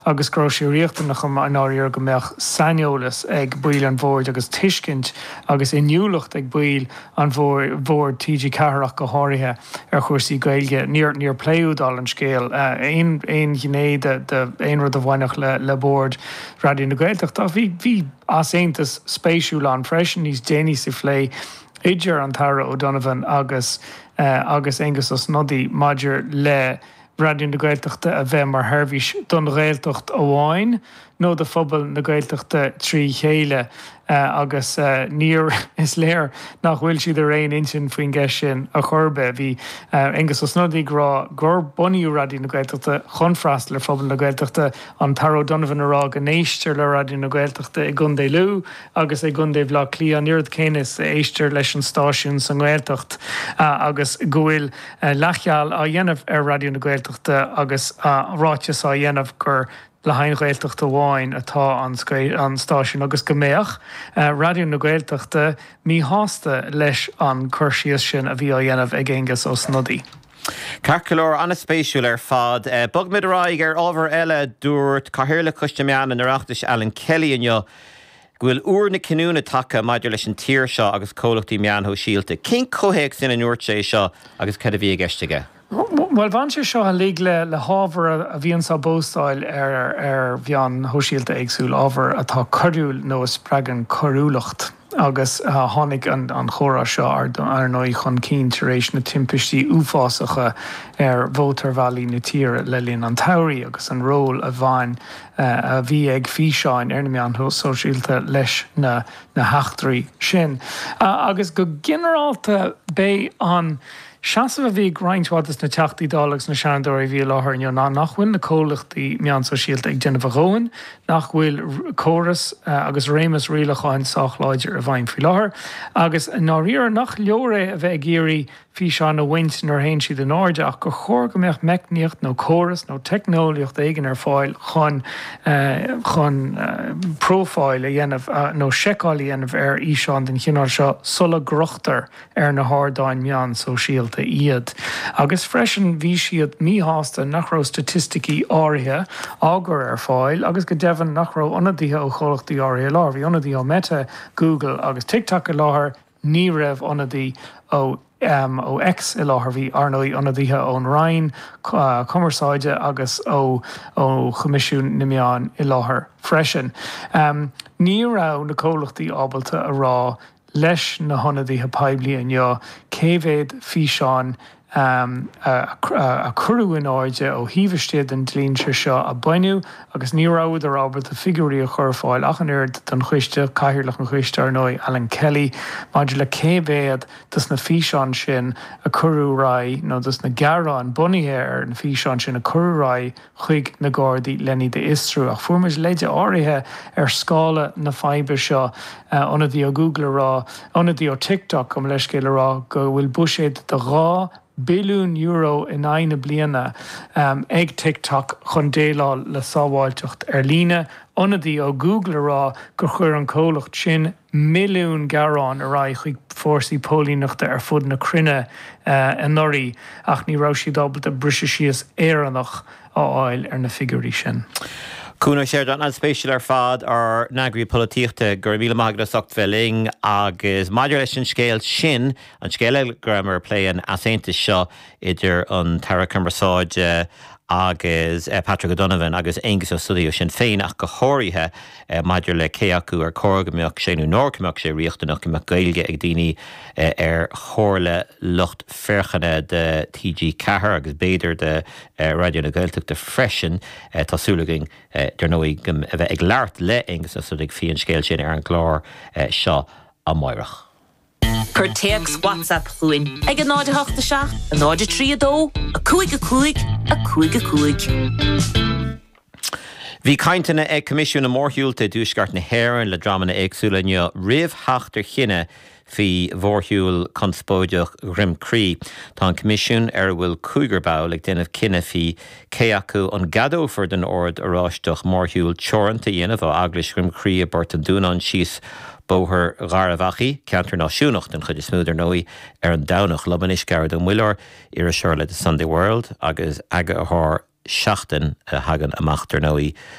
Agus go raibh sé riachtanach i ndáiríre go mbeadh saineolas ag baill an bhoird agus tuiscint agus inniúlacht ag baill an bhoird, TG4 ach go háirithe, ar chúrsaí Gaeilge. Níor níor pléadh, dála an scéil, aon aon ghné de de aon rud a bhainfeadh le le bord Raidió na Gaeltachta ach bhí bhí easaontas spéisiúil ann freisin níos déanaí sa phlé idir an tAire O'Donovan agus agus Aengus Ó Snodaigh maidir le Raidió na Gaeltachta a bheith mar sheirbhís don Ghaeltacht amháin nó do phobal na Gaeltachta trí chéile agus níor, is léir nach bhfuil siad ar aon intinn faoin gceist sin ar chor ar bith. Bhí Aengus Ó Snodaigh ag rá gur bunaíodh Raidió na Gaeltachta chun freastal ar phobal na Gaeltachta, an tAire O'Donovan ag rá go n-éistear le Raidió na Gaeltachta i gContae Lú agus i gContae Bhaile Átha Cliath an oiread céanna is a éistear leis an stáisiún sa nGaeltacht agus go bhfuil leathcheal á dhéanamh ar Raidió na Gaeltachta agus ráiteas á dhéanamh gur le haghaidh an Ghaeltacht amháin atá an stáisiún agus go mbeadh Raidió na Gaeltachta míshásta leis an cur síos sin a bhí á dhéanamh ag Aengus Ó Snodaigh. Ceart go leor, an-spéisiúil ar fad. Bogfaimid ar aghaidh ar ábhar eile. Dúirt Cathaoirleach Choiste Meán an Oireachtais, Alan Kelly inniu go bhfuil uair na cinniúna tagtha maidir leis an tír seo agus comhlachtaí meáin shóisialta. Cén comhthéacs ina ndúirt sé seo agus cad a bhí i gceist aige? Bhuel, bhain sé seo uilig le le hábhar a bhíonns á bpóstáil ar ar mheáin shóisialta éagsúil, ábhar atá coiriúil nó a spreagann coiriúlacht. Agus tháinig an an chomhrá seo ar ar ndóigh chun cinn tar éis na timpistí uafásacha ar mhótarbhealaí na tíre le linn an tsamhraidh agus an ról a bhain a bhí ag físeáin ar na meáin shóisialta leis na heachtraí sin. Agus go ginearálta, b'é an seasamh a bhí ag roinnt mhaith de na Teachtaí Dála agus na Seanadóirí a bhí i láthair inniu ná nach bhfuil na comhlachtaí meán sóisialta ag déanamh a dhóthain, nach bhfuil córas agus réimeas rialacháin sách láidir i bhfeidhm faoi láthair, agus i ndáiríre nach leor é a bheith ag iarraidh físeáin a bhaint nuair a théann siad in airde ach gur chóir go mbeadh meicníocht nó córas nó teicneolaíocht éigin ar fáil chun chun profáil a dhéanamh nó seiceáil a dhéanamh ar fhíseáin den chineál seo sula gcrochtar ar na hardáin meán sóisialta iad. Agus freisin bhí siad míshásta nach raibh staitisticí áirithe á gcur ar fáil agus go deimhin nach raibh ionadaithe ó chomhlachtaí áirithe i láthair. Bhí ionadaithe ó Meta, Google agus TikTok i láthair, Ní raibh ionadaí ó ó X i láthair. Bhí, ar ndóigh, ionadaithe ón Roinn Cumarsáide agus ó ó Choimisiún na Meán i láthair freisin. Ní raibh na comhlachtaí ábalta a rá leis na hionadaithe poiblí inniu cé mhéad físeán a cuireadh in airde ó thaobh istigh den dlínse seo a baineadh agus ní rabhadar ábalta figiúirí a chur ar fáil ach an oiread don choiste, Cathaoirleach an choiste, ar ndóigh, Alan Kelly, maidir le cé mhéad dos na físeáin sin a cuireadh ar aghaidh nó dos na gearáin bunaithe ar na físeáin sin a cuireadh ar aghaidh chuig na Gardaí len iad a fhiosrú. Ach fuair muid leide áirithe ar scála na faidhbe seo, ionadaí ó Google a rá, ionadaí ó TikTok, gabh mo leithscéal, a rá go bhfuil buiséad de €2 billiún in aghaidh na bliana ag TikTok chun déileáil le sábháilteacht ar líne, ionadaí ó Google a rá gur chuir an comhlacht sin 1,000,000 gearán ar aghaidh chuig fórsaí póilíneachta ar fud na cruinne anuraidh ach ní raibh siad ábalta briseadh síos Éireannach a fháil ar na figiúirí sin. Cuan Ó Seireadáin, an-spéisiúil ar fad, ár n-eagraí polaitíochta. Go raibh míle maith agat as ucht bheith linn agus maidir leis an scéal sin, an scéal eile go rabhamar ag plé, an easaontas seo idir an tAire Cumarsáide agus Patrick O'Donovan agus Aengus Ó Snodaigh ó Sinn Féin ach go háirithe maidir le cé acu ar chóir go mbeadh sé nó nár mbeadh sé riachtanach go mbeadh Gaeilge ag daoine ar chomhairle lucht féachana de TG4 agus b'fhéidir de Raidió na Gaeltachta freisin. Tá súil againn, dar ndóigh, go a bheith ag labhairt le Aengus Ó Snodaigh faoi an scéal sin ar an gclár seo amáireach. Cuir téacs WhatsApp chugainn ag 0 8 7 0 3 2 5 5 5 5. Bhí cainteanna ag Coimisiún na Mórshiúlta i dTuaisceart na hÉireann le dreamanna éagsúla inniu roimh theacht ar chinneadh faoi mhórshiúl conspóideach Dhroim Crí. Tá an Coimisiún, ar a bhfuil cúigear ball, ag déanamh cinneadh faoi cé acu an gceadófar don Ord Oráisteach mórshiúl teoranta a dhéanamh ó Eaglais Dhroim Crí i bPort an Dúnáin síos Bóthar Gharbh Achaidh, ceantar náisiúnach den chuid is mó, dar ndóigh, ar an Domhnach. Liom anois Gearóid Ó Muilleoir, iriseoir le The Sunday World agus eagarthóir. seachtain a thagann amach, dar ndóigh.